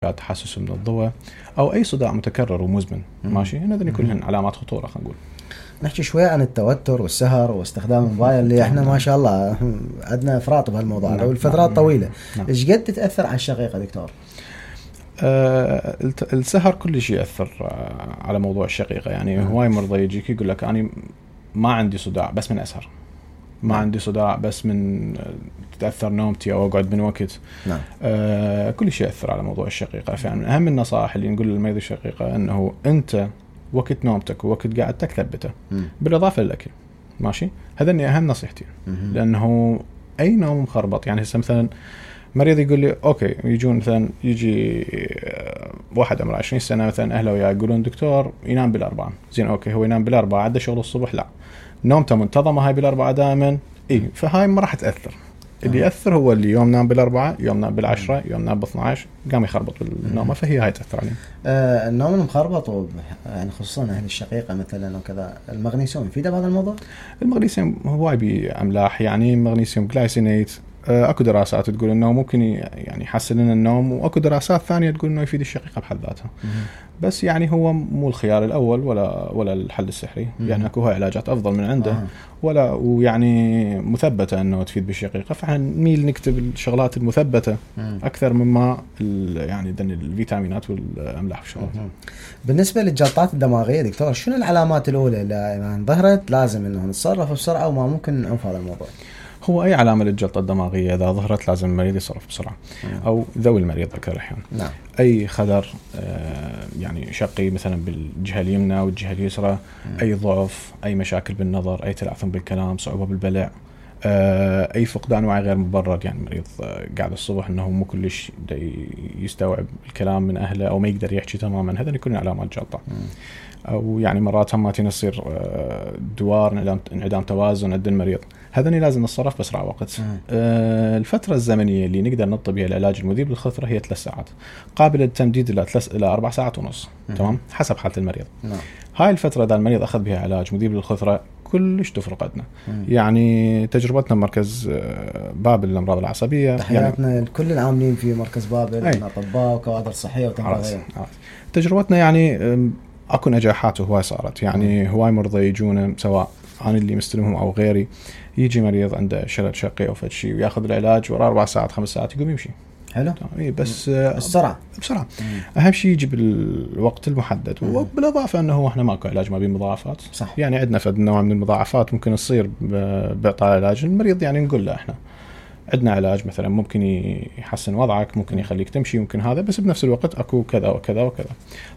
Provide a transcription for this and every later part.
تحسس من الضوء او اي صداع متكرر ومزمن. ماشي، هذول كلهن علامات خطوره. خلينا نقول نحكي شوي عن التوتر والسهر واستخدام الموبايل اللي احنا ما شاء الله عندنا افراط بهالموضوع لو الفترات طويله. ايش قد تتاثر على الشقيقه دكتور؟ السهر كل شيء ياثر على موضوع الشقيقه. يعني هواي مرضى يجيك يقول لك انا ما عندي صداع بس من اسهر، ما عندي صداع بس من تتأثر نومتي أو أقعد من وقت. نعم. كل شيء يأثر على موضوع الشقيقة. فعلا من أهم النصائح اللي نقول للمريض الشقيقة أنه أنت وقت نومتك ووقت قعدتك ثبته بالإضافة للأكل. ماشي، هذا أهم نصيحتي. لأنه أي نوم مخربط، يعني مثلا مريض يقول لي أوكي، يجون مثلا يجي واحد عمره 20 سنة مثلا أهله وياه يقولون دكتور ينام بالأربعة. زين أوكي، هو ينام بالأربعة، عنده شغل الصبح، لا نومته منتظمة هاي بالأربعة دائما. فهاي ما راح تأثر. اللي يأثر هو اللي يوم نام بالأربعة، يوم نام بالعشرة، يوم نام ب12 قام يخربط بالنوم. فهي هاي تأثر عليه. النوم المخربط يعني خصوصا أهل الشقيقة مثلا وكذا، المغنيسيوم يفيده بهذا الموضوع؟ المغنيسيوم هواي بأملاح، يعني مغنيسيوم جلايسينيت. اكو دراسات تقول انه ممكن يعني يحسن لنا النوم، واكو دراسات ثانيه تقول انه يفيد الشقيقه بحد ذاتها. بس يعني هو مو الخيار الاول ولا الحل السحري. يعني اكو علاجات افضل من عنده ولا ويعني مثبته انه تفيد بالشقيقه. فاحنا نميل نكتب الشغلات المثبته اكثر مما يعني الفيتامينات والاملاح والشغلات. بالنسبه للجلطات الدماغيه دكتور، شنو العلامات الاولى اللي يعني ظهرت لازم انه نتصرف بسرعه وما ممكن نعوف هذا الموضوع؟ هو أي علامة للجلطة الدماغية إذا ظهرت لازم المريض يصرف بسرعة. أو ذوي المريض أكثر الأحيان. نعم. أي خدر يعني شقي مثلا بالجهة اليمنى والجهة اليسرى، أي ضعف، أي مشاكل بالنظر، أي تلعثم بالكلام، صعوبة بالبلع، أي فقدان وعي غير مبرر. يعني المريض قاعد الصبح أنه مو كلش يستوعب الكلام من أهله أو ما يقدر يحكي تماما، هذا يكون علامات جلطة. أو يعني مرات هم يصير دوار انعدام توازن عند المريض، هذا لازم نتصرف بأسرع وقت. الفترة الزمنية اللي نقدر نطبق بها العلاج المذيب للخثرة هي 3 ساعات، قابل للتمديد إلى 4 ساعات ونص. تمام، حسب حالة المريض. هاي الفترة إذا المريض أخذ بها علاج مذيب للخثرة كلش تفرق عندنا. يعني تجربتنا بمركز بابل للأمراض العصبية، تحياتنا يعني لكل العاملين في مركز بابل من أطباء وكوادر صحية وتمريضية. تجربتنا يعني أكو نجاحات وهواي صارت. يعني هواي مرضى يجون، سواء أنا اللي مستلمهم أو غيري، يجي مريض عنده شلل شقي أو فد شيء ويأخذ العلاج ورا 4 ساعات 5 ساعات يقوم يمشي. حلو. بس بسرعة. أهم شيء يجي بالوقت المحدد. وبالإضافة أنه إحنا ماكو علاج ما بيه مضاعفات. صح. يعني عندنا فد نوع من المضاعفات ممكن تصير بإعطاء العلاج المريض. يعني نقول له إحنا عندنا علاج مثلا ممكن يحسن وضعك، ممكن يخليك تمشي، ممكن هذا، بس بنفس الوقت اكو كذا وكذا وكذا.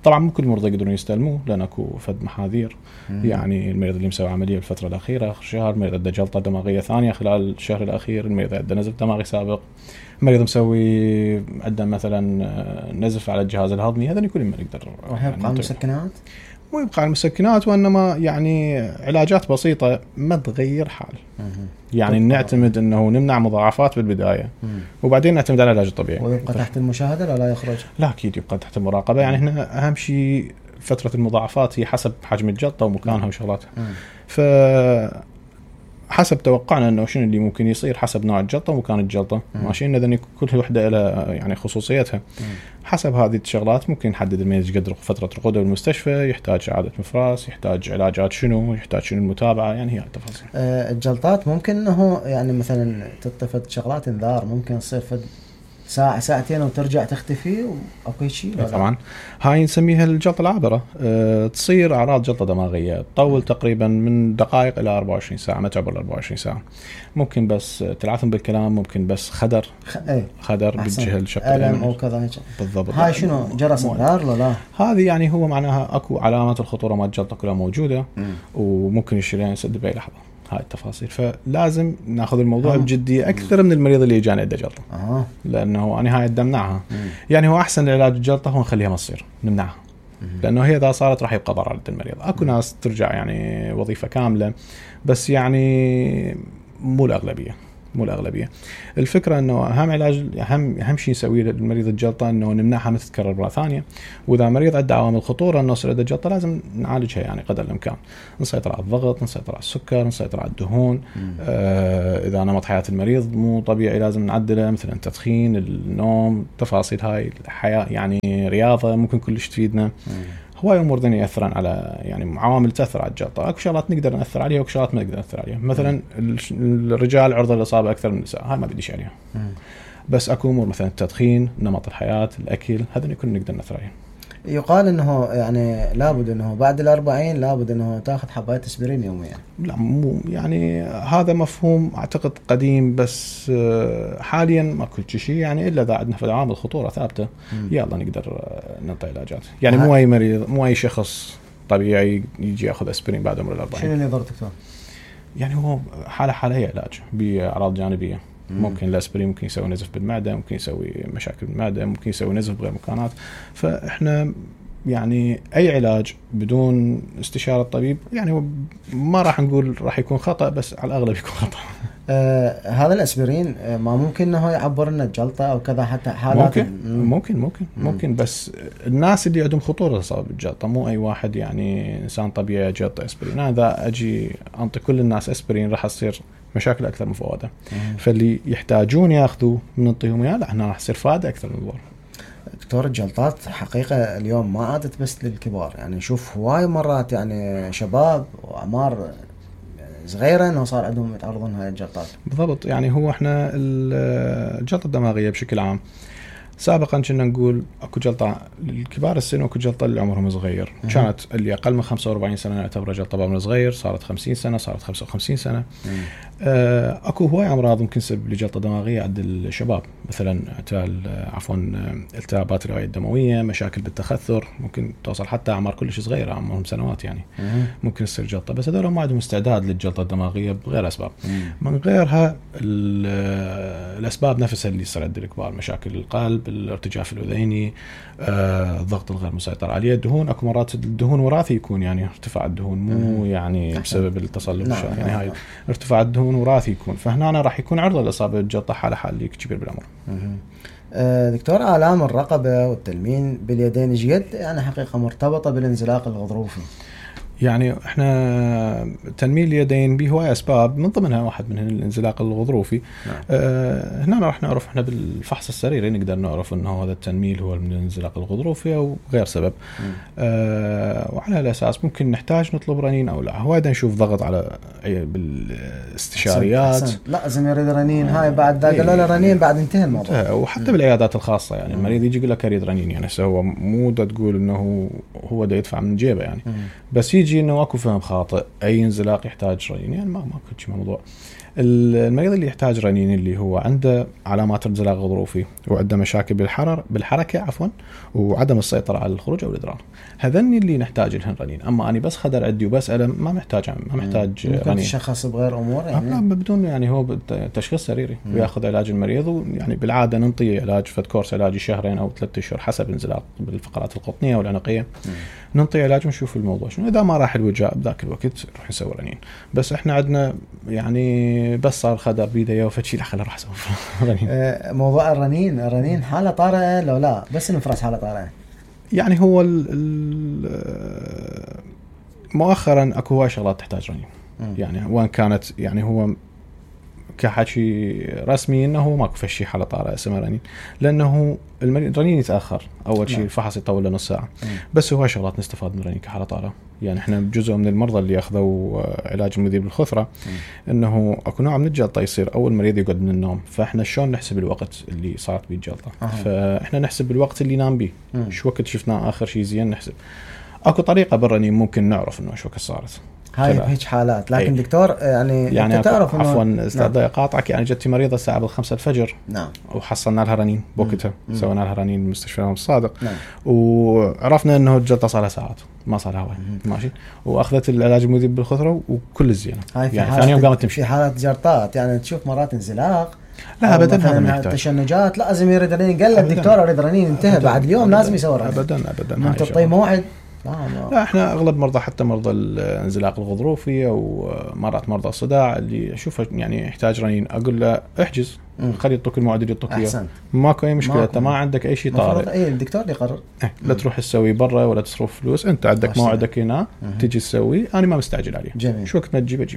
طبعا مو كل المرضى يقدرون يستلموه لان اكو فد محاذير. يعني المريض اللي مسوي عمليه الفتره الاخيره اخر شهر، المريض عنده جلطه دماغيه ثانيه خلال الشهر الاخير، المريض عنده نزف دماغي سابق، مريض مسوي عنده مثلا نزف على الجهاز الهضمي، هذا كل ما نقدر. ويبقى المسكنات مو يبقى على المسكنات، وإنما يعني علاجات بسيطة ما تغير حال. يعني نعتمد أنه نمنع مضاعفات بالبداية وبعدين نعتمد على العلاج الطبيعي. ويبقى تحت المشاهدة ولا يخرج؟ لا أكيد يبقى تحت المراقبة. يعني هنا أهم شيء فترة المضاعفات هي حسب حجم الجلطة ومكانها وشغلاتها. حسب توقعنا انه شنو اللي ممكن يصير حسب نوع الجلطه ومكان الجلطه. ماشي، ان كل وحده لها يعني خصوصيتها. حسب هذه الشغلات ممكن نحدد المريض قدر فتره رقوده بالمستشفى، يحتاج اعاده مفراس، يحتاج علاجات شنو، يحتاج شنو المتابعه. يعني هي التفاصيل. الجلطات ممكن انه يعني مثلا تطفت شغلات انذار، ممكن تصير ساعة ساعتين وترجع تختفي أو أي شيء. طبعا هاي نسميها الجلطة العابرة. تصير أعراض جلطة دماغية تطول تقريبا من دقائق إلى 24 ساعة، ما تعبر 24 ساعة. ممكن بس تلعثم بالكلام، ممكن بس خدر بالجهة الشقية ألم أو كذا. بالضبط. هاي شنو جرس انذار لا؟ هذه يعني هو معناها أكو علامات الخطورة مال الجلطة كلها موجودة. وممكن الشريان يسد بأي لحظة. هاي التفاصيل. فلازم ناخذ الموضوع بجدية أكثر من المريض اللي يجانا عنده جلطة. لأنه أنا هاي نمنعها. يعني هو أحسن لعلاج الجلطة هو نخليها ما تصير، نمنعها. لأنه هي إذا صارت راح يبقى ضرر عند المريض. أكو ناس ترجع يعني وظيفة كاملة، بس يعني مو الأغلبية. مو الاغلبيه. الفكره انه اهم علاج اهم شيء نسويه للمريض الجلطه انه نمنعها من تتكرر مره ثانيه، واذا مريض عنده عوامل خطوره انه يصير عنده جلطه لازم نعالجها يعني قدر الامكان، نسيطر على الضغط، نسيطر على السكر، نسيطر على الدهون. اذا نمط حياه المريض مو طبيعي لازم نعدله، مثلا التدخين، النوم، تفاصيل هاي الحياه يعني رياضه ممكن كلش تفيدنا. هواي امور ثانيه ياثرون على يعني عوامل تاثر على الجلطه. اكو شغلات نقدر ناثر عليها واكو شغلات ما نقدر ناثر عليها. مثلا الرجال عرضه للاصابه اكثر من النساء، هاي ما بديش عليها. بس اكو امور مثلا التدخين، نمط الحياه، الاكل، هذا يكون نقدر ناثر عليه. يقال انه يعني لابد انه بعد 40 لابد انه تاخذ حباية اسبرين يوميا. لا مو يعني هذا مفهوم اعتقد قديم، بس حاليا ماكو شيء يعني الا اذا عندنا عوامل خطوره ثابته يلا نقدر نعطي علاجات. يعني مو اي مريض، مو اي شخص طبيعي يجي ياخذ اسبرين بعد عمر 40. شنو اللي يضر دكتور؟ يعني هو حاله هي علاج باعراض جانبيه. ممكن الاسبرين ممكن يسوي نزف بالمعده، ممكن يسوي مشاكل بالمعده، ممكن يسوي نزف بغير مكانات. فاحنا يعني اي علاج بدون استشاره الطبيب يعني ما راح نقول راح يكون خطا، بس على الاغلب يكون خطا. هذا الاسبرين ما ممكن انه يعبر لنا الجلطه او كذا حتى حالات ممكن بس الناس اللي عندهم خطوره اصابه بالجلطه، مو اي واحد يعني انسان طبيعي جلطه اسبرين. اذا اجي انطي كل الناس اسبرين راح تصير مشاكل اكثر من فوائده. فاللي يحتاجون ياخذوا من نعطيهم اياه، لا احنا راح تصير فائده اكثر من الضرر. دكتور الجلطات حقيقة اليوم ما عادت بس للكبار، يعني نشوف هواي مرات يعني شباب وأعمار صغيرة انه صار عندهم يتعرضون هاي الجلطات. بالضبط. يعني هو احنا الجلطة الدماغية بشكل عام سابقا كنا نقول اكو جلطة للكبار السن واكو جلطة اللي عمرهم صغير. كانت اللي اقل من 45 سنة نعتبر جلطة بعمر صغير، صارت 50 سنة، صارت 55 سنة. اكو هواي امراض ممكن تسبب لجلطة دماغية عند الشباب، مثلا التهابات الأوعية الدموية، مشاكل بالتخثر، ممكن توصل حتى اعمار كلش صغيرة، عمرهم سنوات يعني ممكن تصير جلطة. بس هذول ما عندهم استعداد للجلطة الدماغية بغير اسباب. من غيرها الاسباب نفسها اللي يصير عند الكبار، مشاكل القلب، الارتجاف الاذيني، الضغط الغير مسيطر عليه، الدهون. اكو مرات الدهون وراثي يكون، يعني ارتفاع الدهون مو يعني بسبب التصلب، يعني هاي ارتفاع الدهون وراثي يكون. فهنا راح يكون عرضه للاصابه بالجلطه حال كبير بالعمر. دكتور، آلام الرقبه والتلمين باليدين جد يعني حقيقه مرتبطه بالانزلاق الغضروفي. يعني احنا تنميل اليدين به هواي اسباب، من ضمنها واحد منها الانزلاق الغضروفي. هنا راح نعرف احنا بالفحص السريري نقدر نعرف انه هذا التنميل هو من الانزلاق الغضروفي او غير سبب. وعلى الاساس ممكن نحتاج نطلب رنين او لا. هواي نشوف ضغط على بالاستشاريات. لازم يريد رنين. هاي بعد قالوا له رنين بعد انتهى الموضوع. وحتى بالعيادات الخاصه يعني المريض يجي يقول لك اريد رنين، يعني هو مو دا تقول انه هو دا يدفع من جيبه يعني. بس يجي انه اكو فهم خاطئ، اي انزلاق يحتاج رنين، يعني ما كنتش موضوع. المريض اللي يحتاج رنين اللي هو عنده علامات انزلاق غضروفي وعنده مشاكل بالحركه وعدم السيطره على الخروج او الادرار، هذني اللي نحتاج لهن رنين. اما اني بس خدر عندي وبس الم ما محتاج رنين. تشخص بغير امور يعني؟ لا بدون، يعني هو تشخيص سريري وياخذ علاج المريض. ويعني بالعاده ننطي علاج كورس علاجي شهرين او 3 اشهر حسب انزلاق بالفقرات القطنيه والعنقيه. ننطي علاج ونشوف الموضوع شنو. اذا ما راح الوجاء بذاك الوقت نروح نسوي رنين. بس احنا عندنا يعني بس صار خدر بيده وفتشي لا خلينا راح نسوي رنين. موضوع الرنين حاله طارئه لو لا بس نفرس حاله طارئه؟ يعني هو مؤخرا اكو هواي شغلات تحتاج رنين. يعني وان كانت يعني هو كحكي رسمي انه ماكو فشي حاله طارئه اسمها رنين، لانه الرنين يتاخر. اول شيء الفحص يطول له نص ساعه. بس هو شغلات نستفاد من الرنين كحاله طارئه. يعني احنا جزء من المرضى اللي اخذوا علاج المذيب بالخثره انه اكو نوع من الجلطه يصير اول مريض يقعد من النوم. فاحنا شلون نحسب الوقت اللي صارت به الجلطه؟ فاحنا نحسب الوقت اللي نام به، شو وقت شفناه اخر شيء زين نحسب. اكو طريقه بالرنين ممكن نعرف انه شو وقت صارت هاي هيك حالات. لكن دكتور يعني انت تعرف انه عفوا استاذ قاطعك، يعني جتي مريضه الساعه 5 الفجر. نعم. وحصلنا لها رنين بوقتها، سوينا لها رنين بمستشفى الصادق. نعم. وعرفنا انه الجلطه صار لها ساعات ما صار لها ماشي، واخذت العلاج المذيب بالخثره وكل الزينه. يعني ثاني يوم قامت تمشي. في حالات جلطات يعني تشوف مرات انزلاق، لا ابدا هذا ما يحتاج تشنجات، لازم يريد رنين. قال الدكتور اريد رنين انتهى. بعد اليوم لازم يسوي رنين. ابدا انت تعطي موعد لا احنا اغلب مرضى حتى مرضى الانزلاق الغضروفي او مرات مرضى الصداع اللي اشوفه يعني يحتاج رنين اقول له احجز خلي يعطوك الموعد اللي يعطوك اياه ماكو اي مشكله انت ما عندك اي شيء طارئ اي الدكتور اللي يقرر لا تروح تسوي برا ولا تصرف فلوس انت عندك موعدك هنا تجي تسوي انا ما مستعجل عليه جميل. شو وقت ما تجيبه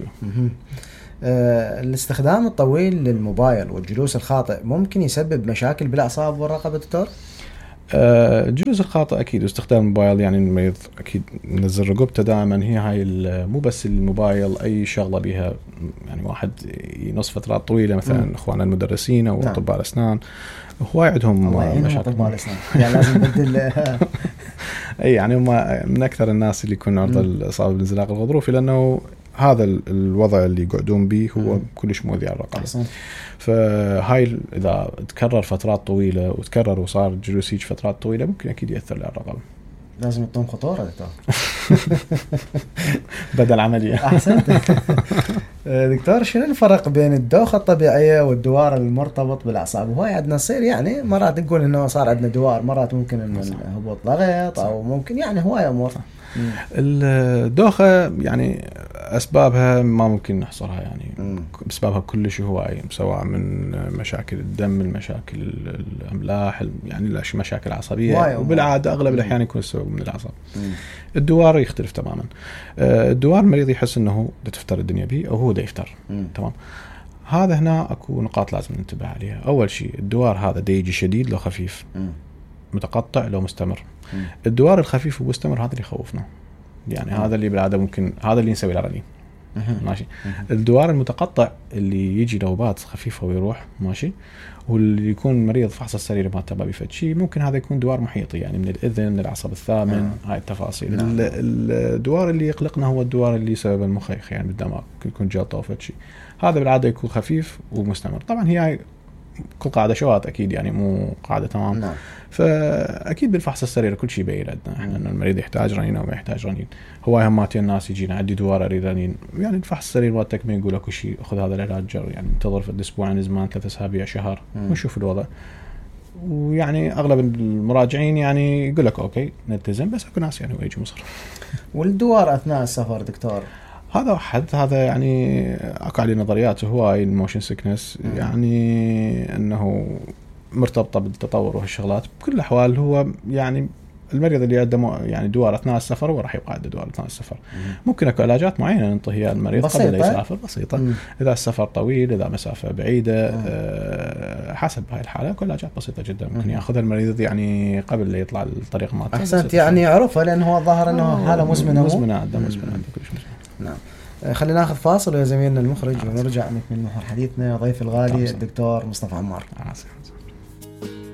الاستخدام الطويل للموبايل والجلوس الخاطئ ممكن يسبب مشاكل بالاعصاب والرقبه دكتور؟ الجلوس الخاطئ اكيد واستخدام الموبايل يعني المريض اكيد منزل رقبته دائما هي هاي مو بس الموبايل اي شغله بها يعني واحد ينص فترات طويله مثلا اخواننا المدرسين او اطباء الاسنان هواي عندهم مشاكل اطباء الاسنان يعني لازم نبدل اي يعني هم من اكثر الناس اللي يكونوا عرضه للاصابه بالانزلاق الغضروفي لانه هذا الوضع اللي يقعدون به هو كلش مؤذي على الرقبه. فهاي اذا تكرر فترات طويله وتكرر وصار جلوس هيك فترات طويله ممكن اكيد ياثر على الرقبه. لازم يعطون خطوره دكتور. بدل عمليه. احسنت. دكتور شنو الفرق بين الدوخه الطبيعيه والدوار المرتبط بالاعصاب؟ وهاي عندنا تصير يعني مرات نقول انه صار عندنا دوار مرات ممكن انه هبوط ضغط او ممكن يعني هواي امور. الدوخه يعني اسبابها ما ممكن نحصرها يعني اسبابها كلش هواي سواء من مشاكل الدم المشاكل الاملاح يعني مشاكل عصبيه وبالعاده اغلب الاحيان يكون السبب من الاعصاب. الدوار يختلف تماما. الدوار المريض يحس انه تفتر الدنيا به او هو دا يفتر تمام. هذا هنا اكو نقاط لازم ننتبه عليها. اول شيء الدوار هذا دا يجي شديد لو خفيف متقطع لو مستمر. الدوار الخفيف ومستمر هذا اللي يخوفنا يعني هذا اللي بالعاده ممكن هذا اللي نسوي له رنين ماشي. الدوار المتقطع اللي يجي نوبات خفيفه ويروح ماشي واللي يكون مريض فحص السرير ما تبع بفد شيء ممكن هذا يكون دوار محيطي يعني من الاذن من العصب الثامن هاي التفاصيل. الدوار اللي يقلقنا هو الدوار اللي سبب المخيخ يعني بالدماغ يكون جلطه او فد شيء هذا بالعاده يكون خفيف ومستمر. طبعا هي كل قاعده شواذ اكيد يعني مو قاعده تمام. فاكيد بالفحص السرير كل شيء يبين لنا احنا ان المريض يحتاج رنين او ما يحتاج رنين. هو همات الناس يجينا عندي دوار اريد رنين يعني الفحص السرير مالتك ما يقول لك شيء خذ هذا العلاج يعني انتظر في الاسبوعين زمان 3 اسابيع شهر ونشوف الوضع. ويعني اغلب المراجعين يعني يقول لك اوكي نلتزم بس اكو ناس يعني ويجي مصر. والدوار اثناء السفر دكتور هذا واحد هذا يعني اكو عليه نظريات هواي الموشن سيكنس يعني انه مرتبطه بالتطور وهالشغلات. بكل الاحوال هو يعني المريض اللي عنده يعني دوار اثناء السفر هو راح يبقى عنده دوار اثناء السفر. ممكن اكو علاجات معينه ننطيها المريض قبل لا يسافر بسيطه. اذا السفر طويل اذا مسافه بعيده حسب هاي الحاله كل علاجات بسيطه جدا ممكن ياخذها المريض يعني قبل لا يطلع الطريق مالته. احسنت يعني يعرفها لانه هو ظاهر انه حاله مزمنه عنده كلش مزمنه. نعم. خلينا ناخذ فاصل ويا زميلنا المخرج ونرجع نكمل محور حديثنا. ضيف الغالي الدكتور مصطفى عمار.